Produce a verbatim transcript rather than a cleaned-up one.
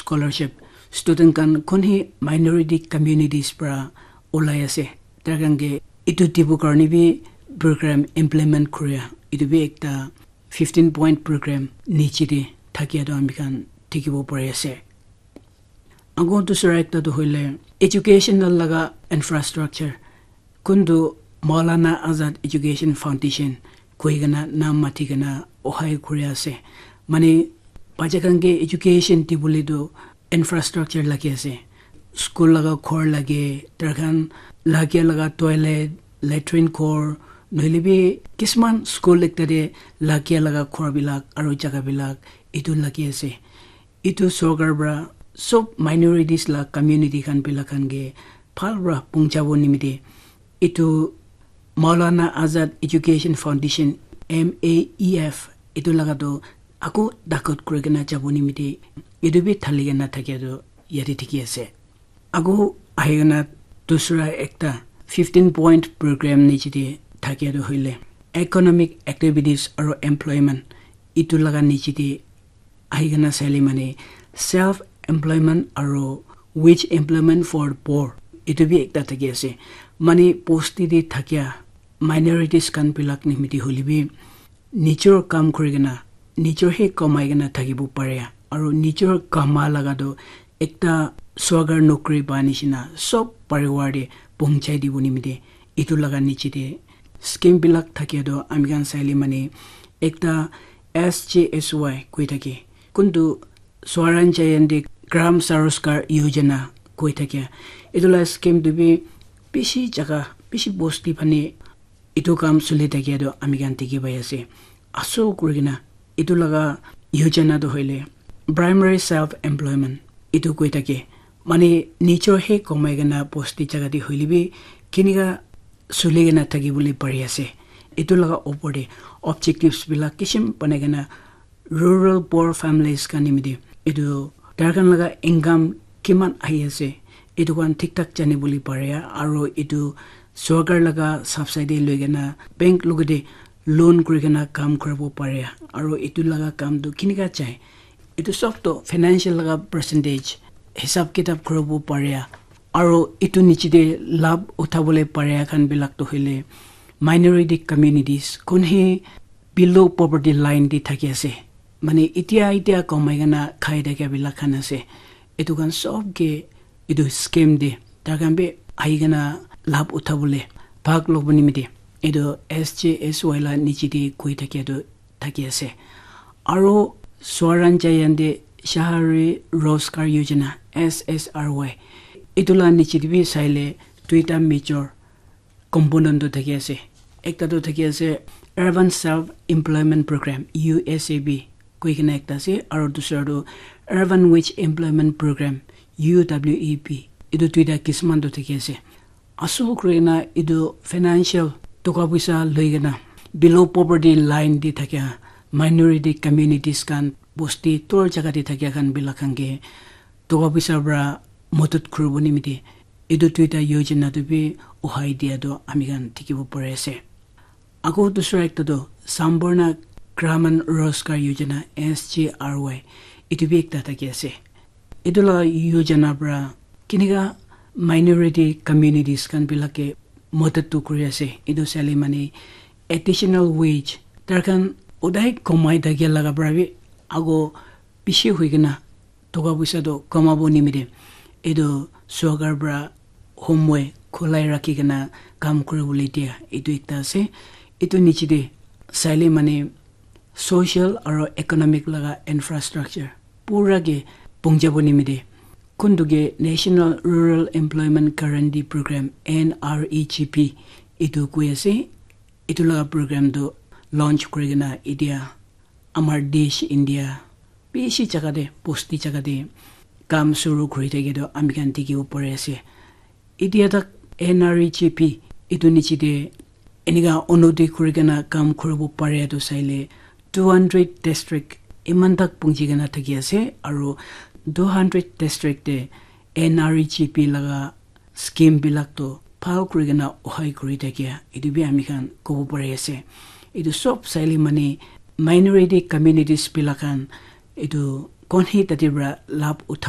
scholarship, student khan kon hi minority communities para ulai ase, tai khan ke etu dibo karne bi program implement koria, etu bi ekta fifteen point program niche te thakia toh ami khan dikhibo pari ase. Ago dusra ekta toh hoile educational laga infrastructure, kuntu Maulana Azad Education Foundation koi kena naam mati kena ohai kuri ase. Mane bacha khan ke education dibole toh infrastructure lagi ase. School laga ghor lage, tar khan lagia laga toilet, latrine ghor, nohile bi kisman school ekta te lagia laga ghor bilak aru jaga bilak etu lagi ase. Etu sorkar para sob minorities la community khan bilak khan ke bhal para punchabo nimite etu Maulana Azad Education Foundation, M A E F, etu laga toh ako dakot kuri kena jabo nimite etu bi thali kena thakia toh yate dikhi ase. Ago ahi kena dusra ekta fifteen point program niche te thakia toh hoile economic activities aru employment, etu laga niche te ahi kena saile mane self employment aru wage employment for the poor, etu bi ekta thaki ase. Mane bosti te thakia minorities khan bilak nimite hoile bi nijor kam kuri kena nijor he kamai kena thakibo pare aru nijor kama laga toh ekta sorkar nokri pa nishina sob pariwar te punchai dibo nimite etu laga niche te scheme bilak thakia toh ami khan saile mane ekta S G S Y koi thake, kuntu Swaranjayandi Gram Saroskar Yojana koi thakia. Etu la scheme tu bi bishi jaga, bishi bosti phane etu kam suli thakia toh ami khan dikhi pai ase. Aso kuri kena etu laga yojana toh hoile primary self employment etu koi thake, mane nijor he kamai kena bosti jaga te hoile bi kinika suli kena thaki bole pari ase. Etu laga opor te objectives bilak kishim banai kena rural poor families khan nimite etu tar khan laga income kiman ahi ase etu khan thik thak jani bole pare aru etu sorkar laga subsidy loi kena bank logote loan kuri kena kam kuribo pare aru etu laga kam tu kinika jai etu sob toh financial laga percentage hisab kitab kuribo pare aru etu niche te labh uthabole pare khan bilak toh hoile minority communities kon he below poverty line te thaki ase, mane itia itia kamai kena khai thakia bilak khan ase, etu khan sob ke etu scheme te tar khan bi ahi kena labh uthabole bhag lobo nimite etu S G S Y la niche te koi thakia toh thaki ase. Aru Swaranjayandi Shahari Rozgar Yojana, S S R Y, etu la niche te bi saile duita major component tu thaki ase. Ekta tu thaki ase Urban Self Employment Program, U S A B, koi kena ekta ase, aru dusra tu Urban Wage Employment Program, U W E P. Etu duita kisman tu thaki ase. Aso kuri kena etu financial toka poisa loi kena below poverty line te thakia minority communities khan bosti tor jaga te thakia khan bilak khan ke toka poisa para madad kuribo nimite etu duita yojana tu bi uhai dia tu ami khan dikhibo pari ase. Ago dusra ekta tu Samborna Graman Rozgar Yojana, S G R Y, etu bi ekta thaki ase. Etu la yojana para kinika minority communities khan bilak ke madad tu kuri ase. Etu saile mane additional wage tar khan udai kamai thakia laga para bi ago bishi hoi kena toka poisa toh kamabo nimite etu sorkar para homwe khulai rakhi kena kam kuribole dia etu ekta ase. Etu niche te saile mane social aro economic laga infrastructure pura ke pungjabo nimite kuntu ke National Rural Employment Guarantee Program, N R E G P, etu koi ase. Etu laga program tu launch kuri kena etia amar desh India bishi jaga te, bosti jaga te kam shuru kuri thake tu ami khan dikhibo pari ase. Etia tak N R E G P etu niche te enika unoti kuri kena kam kuribo pare tu saile two hundred district eman tak punji kena thaki ase, aro two hundred district te N R E G P laga scheme bilak toh bhal kuri kena ohai kuri thakia etu bi ami khan kobo pari ase. Etu sob saile mane minority communities bilak khan etu kon hi tate para labh uthabo